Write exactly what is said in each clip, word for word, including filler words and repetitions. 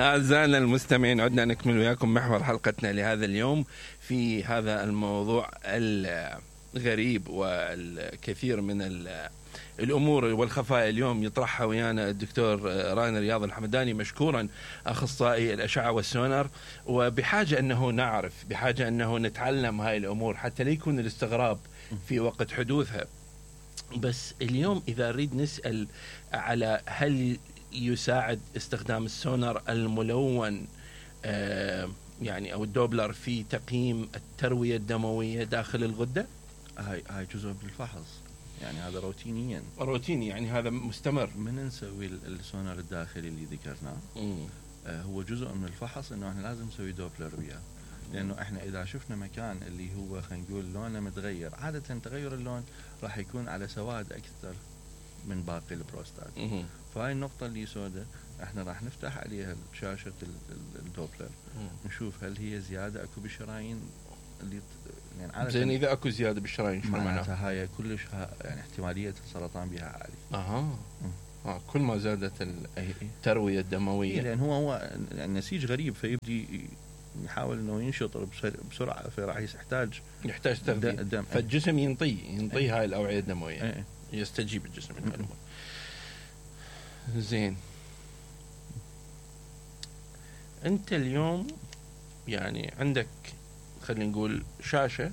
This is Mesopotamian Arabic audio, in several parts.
أعزائنا المستمعين، عدنا نكمل وياكم محور حلقتنا لهذا اليوم في هذا الموضوع الغريب والكثير من الأمور والخفايا. اليوم يطرحها ويانا الدكتور راين رياض الحمداني، مشكورا أخصائي الأشعة والسونار، وبحاجة أنه نعرف، بحاجة أنه نتعلم هاي الأمور حتى لا يكون الاستغراب في وقت حدوثها. بس اليوم إذا نريد نسأل على هل يساعد استخدام السونار الملون آه يعني أو الدوبلر في تقييم التروية الدموية داخل الغدة؟ هاي هاي جزء من الفحص، يعني هذا روتينيا روتيني، يعني هذا مستمر. من نسوي السونار الداخلي اللي ذكرناه آه هو جزء من الفحص، انه احنا لازم نسوي دوبلر وياه، لانه احنا اذا شفنا مكان اللي هو خلينا نقول لونه متغير، عادة تغير اللون راح يكون على سواد اكثر من باقي البروستات. فهاي النقطة اللي سوداء احنا راح نفتح عليها شاشة الدوبلر، نشوف هل هي زيادة اكو بالشرايين اللي يعني زين. اذا اكو زيادة بالشرايين شو معناتها؟ هاي كلش يعني احتمالية السرطان بها عالي. اها اه كل ما زادت التروية الدموية. إيه، لان هو هو يعني نسيج غريب، فيبدي يحاول انه ينشط بسرعة، فراح يحتاج يحتاج تغذية، فالجسم ينطي ينطي ايه. هاي الأوعية الدموية ايه. يستجيب الجسم لها. زين، انت اليوم يعني عندك خلينا نقول شاشة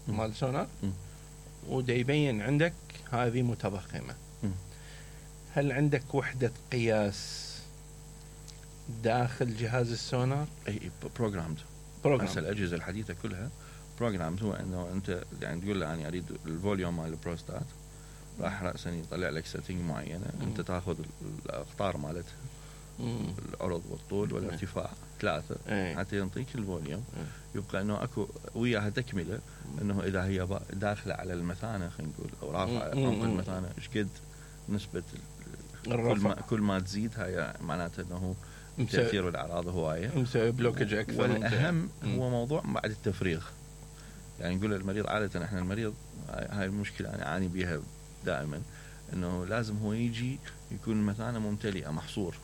مال سونار ودا يبين عندك هذه متضخمة، هل عندك وحدة قياس داخل جهاز السونار؟ اي بروجرامد بروجرام. الأجهزة الحديثة كلها بروجرامد، هو انه انت يعني تقول له انا اريد الفوليوم مال البروستات، راح رأسا يطلع لك سيتنج معينة، مم. انت تاخذ الاقطار مالتها، العرض والطول والارتفاع ثلاثة ايه. حتى ينطيك الفوليوم. ايه. يبقى انه اكو وياها تكملة، انه اذا هي داخلة على المثانة خلينا نقول او رافعة عمق المثانة ايش قد نسبة كل ما, كل ما تزيد هاي معناته انه تأثير الأعراض هواية، مسوي بلوكج أكثر. والأهم هو موضوع بعد التفريغ، يعني نقول للمريض عادة احنا المريض هاي المشكلة أنا أعاني بيها دائما، إنه لازم هو يجي يكون المثانة ممتلئة محصور،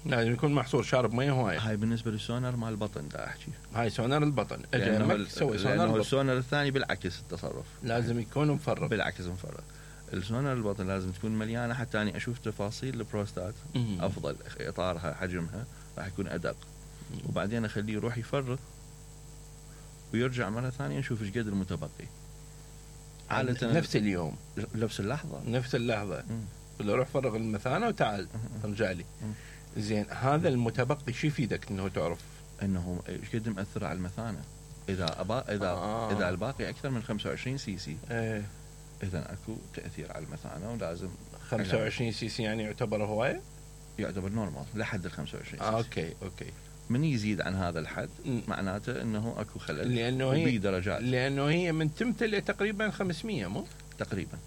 لازم يكون محصور شارب مية هواية. هاي بالنسبة للسونار مال البطن دا أحكي، هاي سونار البطن لأنه سوي سونار السونار الثاني بالعكس التصرف، لازم يكون مفرغ، بالعكس مفرغ. السونار البطن لازم تكون مليانة حتى أني أشوف تفاصيل البروستات مم. أفضل، إطارها حجمها راح يكون أدق، مم. وبعدين أخليه يروح يفرغ ويرجع مرة ثانية نشوف إيش قد المتبقي. عادة نفس اليوم، نفس اللحظة نفس اللحظة اللي روح فرغ المثانة وتعال ارجع لي. زين، هذا المتبقي شو يفيدك انه تعرف انه ايش قد مأثر على المثانة؟ اذا أبا اذا آه. اذا الباقي اكثر من خمسة وعشرين سي سي ايه. اذا اكو تأثير على المثانة، ولازم خمسة وعشرين سي سي يعني يعتبر هواية؟ يعتبر نورمال لحد ال خمسة وعشرين آه اوكي اوكي. من يزيد عن هذا الحد معناته انه اكو خلل، لانه هي درجات، لانه هي من تمتلئ تقريبا خمسمية مو تقريبا.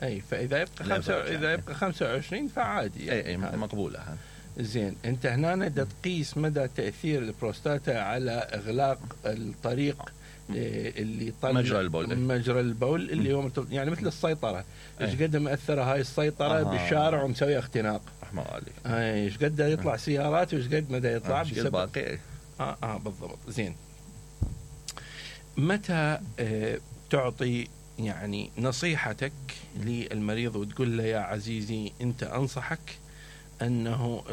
اي فاذا يبقى خمسة اذا يبقى خمسة وعشرين فعادي يعني. اي, أي مقبوله هذا. زين، انت هنا دا تقيس مدى تاثير البروستاتا على اغلاق الطريق اللي يطلع مجرى البول، مجرى البول اللي هو يعني مثل السيطره، ايش قد مأثره هاي السيطره آه. بالشارع ومسوي اختناق، رحمه الله عليك. ايش قد يطلع سيارات وايش قد مدى يطلع آه. بسبب باقي. اه اه بالضبط. زين، متى آه تعطي يعني نصيحتك للمريض وتقول له يا عزيزي انت انصحك انه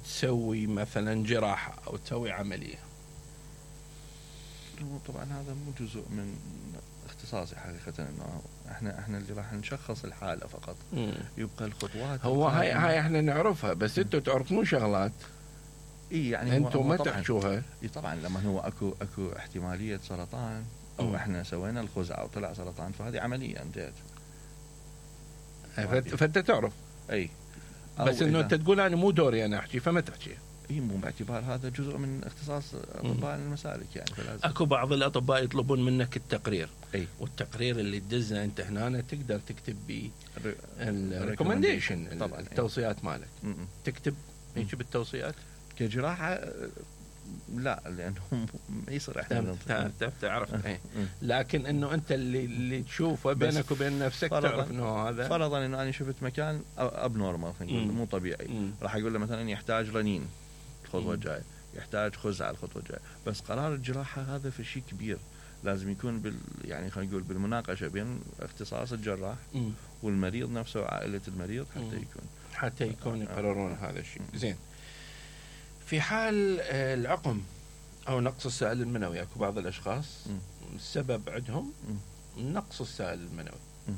تسوي مثلا جراحة او تسوي عملية؟ طبعا هذا مو جزء من اختصاصي حقيقة، انه احنا احنا اللي راح نشخص الحالة فقط. مم. يبقى الخطوات هو هاي هاي احنا نعرفها، بس انتوا تعرفون شغلات اي يعني انتوا ما تحكوها. اي طبعا لما هو اكو اكو احتمالية سرطان او مم. احنا سوينا الخزعة وطلع سرطان، فهذه عملية انتهت. فانت تعرف اي، بس انه انت تقول انا مو دوري انا احكي فما تحكي. اي مو باعتبار هذا جزء من اختصاص اطباء المسالك يعني، فلازم. اكو بعض الاطباء يطلبون منك التقرير، اي والتقرير اللي تدزه انت هنا تقدر تكتب به الريكومنديشن، التوصيات مالك. م- م. تكتب هيك بالتوصيات كجراحة لا، لانه ما يصير احنا تعرف. لكن انه انت اللي اللي تشوفه بينك وبين نفسك تعرف انه هذا فرضا انه انا شفت مكان اب نورمال مو طبيعي، راح اقول له مثلا يحتاج رنين الخطوه الجايه، يحتاج خز على الخطوه الجايه. بس قرار الجراحه هذا في شيء كبير، لازم يكون بال يعني خلينا نقول بالمناقشه بين اختصاص الجراح م. والمريض نفسه وعائله المريض حتى م. يكون حتى يكون يقررون آه. هذا الشيء. زين، في حال العقم او نقص السائل المنوي، اكو بعض الاشخاص م. السبب عندهم م. نقص السائل المنوي، م.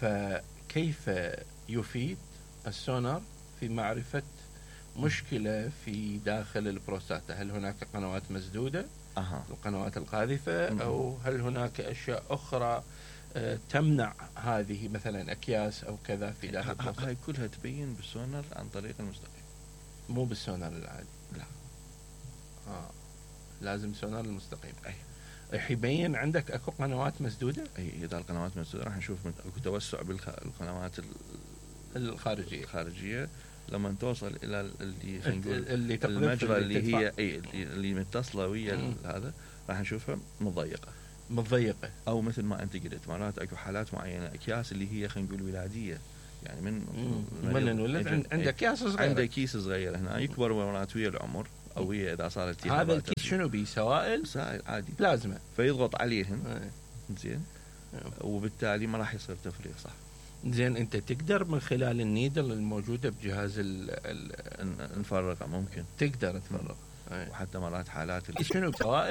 فكيف يفيد السونار في معرفة مشكلة في داخل البروستاتا؟ هل هناك قنوات مسدودة، أه. القنوات القاذفة، م. أو هل هناك أشياء أخرى آه تمنع هذه، مثلا أكياس أو كذا في داخل البروستاتا؟ هاي كلها تبين بالسونار عن طريق المستقيم، مو بالسونار العادي. لا آه. لازم سونار المستقيم. أي راح يبين عندك اكو قنوات مسدوده. اي اذا القنوات مسدوده راح نشوف اكو توسع بالقنوات الخارجيه الخارجيه لما توصل الى اللي خلينا نقول اللي المجرى اللي, اللي هي اي اللي, اللي متصله ويا هذا راح نشوفها مضيقه مضيقه او مثل ما انت قلت مرات اكو حالات معينه اكياس اللي هي خلينا نقول ولاديه، يعني من من الولد عنده اكياس صغيره، عنده كيس صغير هنا يكبر مرات ويا العمر او هي اذا صارت هذا الكيس شنو بيه؟ سوائل سائل عادي بلازما، فيضغط عليهم زين وبالتالي ما راح يصير تفريغ صح. زين، انت تقدر من خلال النيدل الموجوده بجهاز ال نفرغها، ممكن تقدر تفرغ، وحتى مرات حالات شنو سوائل